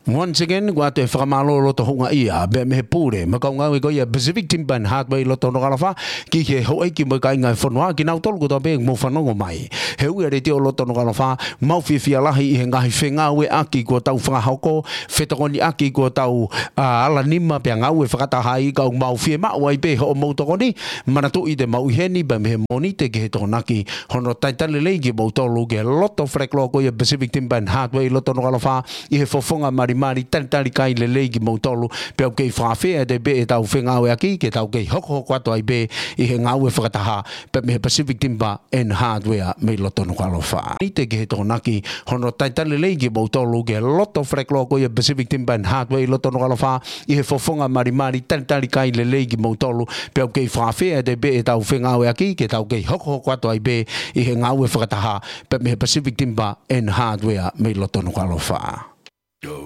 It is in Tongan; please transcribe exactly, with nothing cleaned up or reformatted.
Once again, ʻoku ʻoatu e fakamālō loto houngaʻia pea mei he pule mo e kau ngāue ko ia Pacific Timber and Hardware ʻi loto Nukuʻalofa, ki he houʻeiki mo e kāinga e fonua, kinautolu kotoa pē ʻoku mou fanongo mai he uia letiō loto Nukuʻalofa. Mau fiefia lahi ʻi he ngaahi fengāueʻaki kuo tau fakahoko, fetokoniʻaki kuo tau, ā, ala nima pea ngāue fakataha ai, ka ʻoku mau fiemaʻu ai pē hoʻomou tokoni. Manatuʻi te mau ʻi heni pea mei he Mōnite ki he Tokonaki hono talitali lelei kimoutolu ki he loto falelotu ko ia Pacific Timber and Hardware ʻi loto Nukuʻalofa, ʻi he fofonga malimali, talitali kai lelei kimoutolu, pea ʻoku kei fakaafeʻi atu pē ʻetau fengāueʻaki ke tau kei hokohoko atu ai pē ʻi he ngāue fakataha pea mei he Pacific Timber and Hardware mei loto Nukuʻalofa. Mōnite ki he Tokonaki hono talitali lelei kimoutolu ki he loto falelotu ko ia Pacific Timber and Hardware ʻi loto Nukuʻalofa, ʻi he fofonga malimali, talitali kai lelei kimoutolu, pea ʻoku kei fakaafeʻi atu pē ʻetau fengāueʻaki ke tau kei hokohoko atu ai pē ʻi he ngāue fakataha pea mei he Pacific Timber and Hardware mei loto Nukuʻalofa.